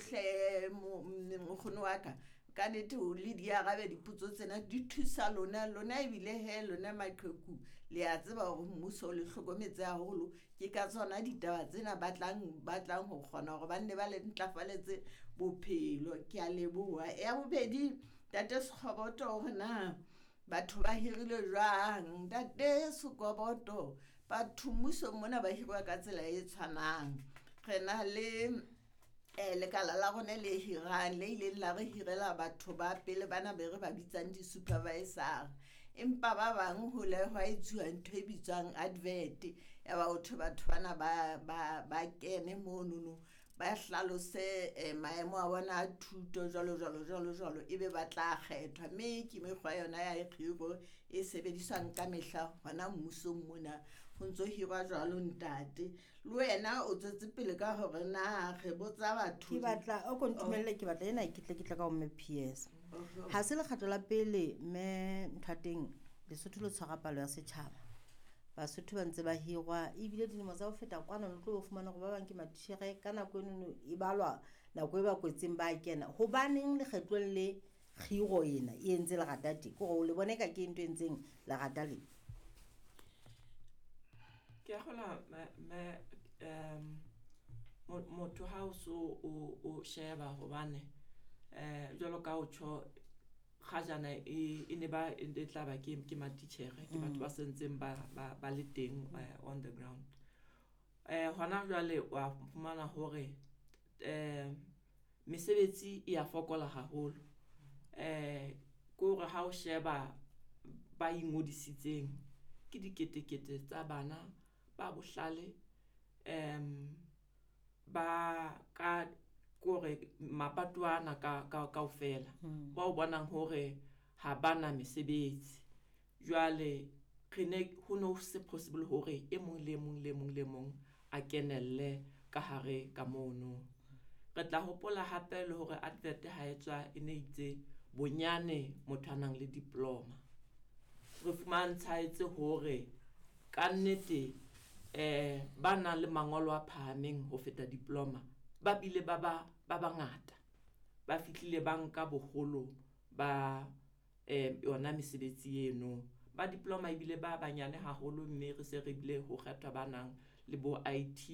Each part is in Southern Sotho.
hle mokgono wa ka. Ka nnete o le di arabe dipotso tsena di thusa lona lona ebile he lona maqheku le a tseba hore mmuso o le hlokometse haholo. Ke ka tsona ditaba tsena ba tlang ho kgona hore ba nne ba le ntlafaletse bophelo. Ke a leboha. Ya bobedi, Ntate Sekgoboto hore na batho ba hirilwe jwang. Ntate Sekoboto, batho mmusong mona ba hirwa ka tsela e tshwanang. Re na le lekala la rona le hirang le ileng la re hirela batho ba pele bana be re ba bitsang di-supervisor. Empa ba bang ho le hwa etsuwa ntho e bitswang advert ya ba ho thwe batho bana ba kene monono ba hlalose maemo a bona a thuto jwalo jwalo jwalo jwalo, ebe ba tla kgethwa. Mme ke mekgwa yona ya kgiro e sebediswang ka mehla hona mmusong mona, ho ntso hirwa jwalo ntate. Le wena o tswetse pele ka hore na re botsa batho. Ke batla o ko ntumelle, ke batla ena ke tle ka ho mme PS. Ha se lekgetlo la pele mme ntho ya teng Lesotho le tshwara palo ya setjhaba. Basotho ba ntse ba hirwa ebile dilemo tsa ho feta kwana le tlo fumana hore ba bang ke matitjhere ka nako enono e balwa nako e ba kwetseng ba kena. Hobaneng lekgetlong le kgiro ena e entse lerata teng? Ke hore o le bone ka ke ntho e entseng lerata le. Ke a kgolwa me motho ha o so o sheba hobane jwalo ka o tjho kgajana e ne ba e tla ba ke matitjhere, ke batho ba sentseng ba le teng on the ground. Hona jwale wa fumana hore mesebetsi e ya fokola haholo. Ke hore ha o sheba ba ingodisitseng ke diketekete tsa bana ba bohlale, ba ka kore mapato ana ka kaofela ba o bonang hore ha bana mesebetsi. Jwale re ne ho no se possible hore e mong le mong le mong le mong a kenelle ka hare ka mono. Re tla hopola hape le hore advert ha e tswa e ne itse bonyane motho a nang le diploma. Re fumantshwaetse hore ka nnete ba nang le mangolo a phahameng ho feta diploma ba bile ba bangata, ba fihlile ba nka boholo ba yona mesebetsi eno. Ba diploma ebile ba banyane haholo, mme re se re bile ho kgethwa ba nang le bo IT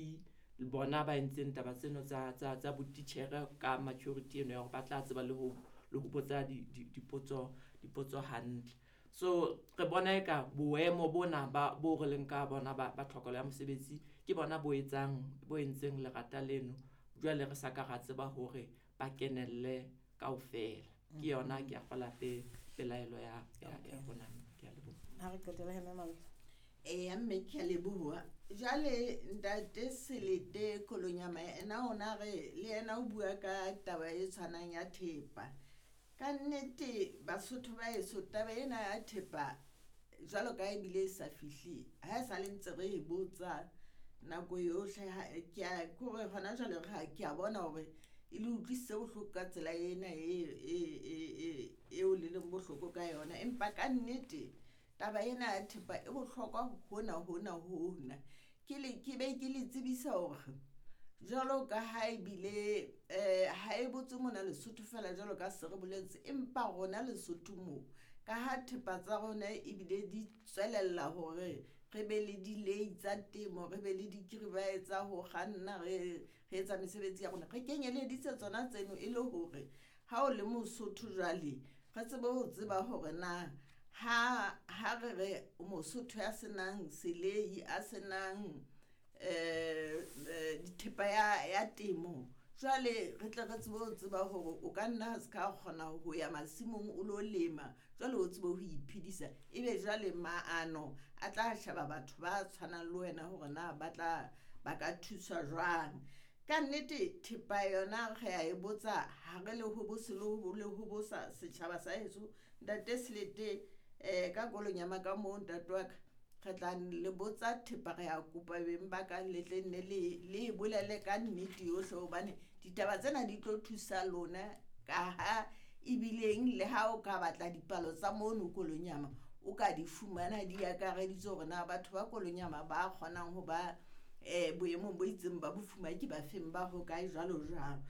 le bona ba entseng taba tseno tsa botitjhere ka maturity eno ya hore ba tla tseba le ho botsa dipotso hantle. So re bona eka boemo bona ba bo re leng ka bona ba tlhokelo ya mosebetsi ke bona bo entseng lerata leno. Jwale re sa ka ra tseba hore ba kenelle kaofela. Ke yona ke a kgola pelaelo ya rona. Ke a leboha. Ha re qetela he mme Malota. Eya mme ke a leboha. Jwale ntate Selete Kolonyama ena ona re le yena o bua ka taba e tshwanang ya thepa. Ka nnete Basotho ba heso taba ena ya thepa jwalo ka ebile e sa fihle ha e sa le ntse re e botsa nako yohle, ke a kore hona jwale ke a bona hore e le utlwisitse bohloko ka tsela ena e eo le leng bohloko ka yona. Empa ka nnete taba ena ya thepa e bohlokwa hona hona hona. Ke be ke le tsebisa hore jwalo ka ha ebile ha e botse mona Lesotho fela jwalo ka se re boletse, empa rona Lesotho mo ka ha thepa tsa rona ebile di tswelella hore re be le dilei tsa temo, re be le dikiribae tsa ho kganna, re etsa mesebetsi ya rona, re kenyeleditse tsona tseno e le hore ha o le Mosotho jwale re tsebe ho tseba hore na ha re re Mosotho ya senang selei, a senang dithepa ya temo, jwale re tle re tsebe ho tseba hore o ka nna ha se ka kgona ho ya masimong o lo lema, jwale o tsebe ho iphedisa. Ebe jwale maano a tla sheba batho ba tshwanang le wena hore na ba tla ba ka thuswa jwang. Ka nnete thepa yona re a e botsa ha re le hobose le hobosa setjhaba sa heso. Ntate Selete ka Kolonyama ka moo ntate wa ka re tla le botsa thepa, re a kopa beng ba ka le tle nne le bolele ka nnete yohle, hobane ditaba tsena di tlo thusa lona ka ha ebileng le ha o ka batla dipalo tsa mono Kolonyama o ka di fumana di akareditse hore na batho ba Kolonyama ba kgonang ho ba boemong bo itseng ba bofuma ke ba feng, ba hokae jwalo jwalo.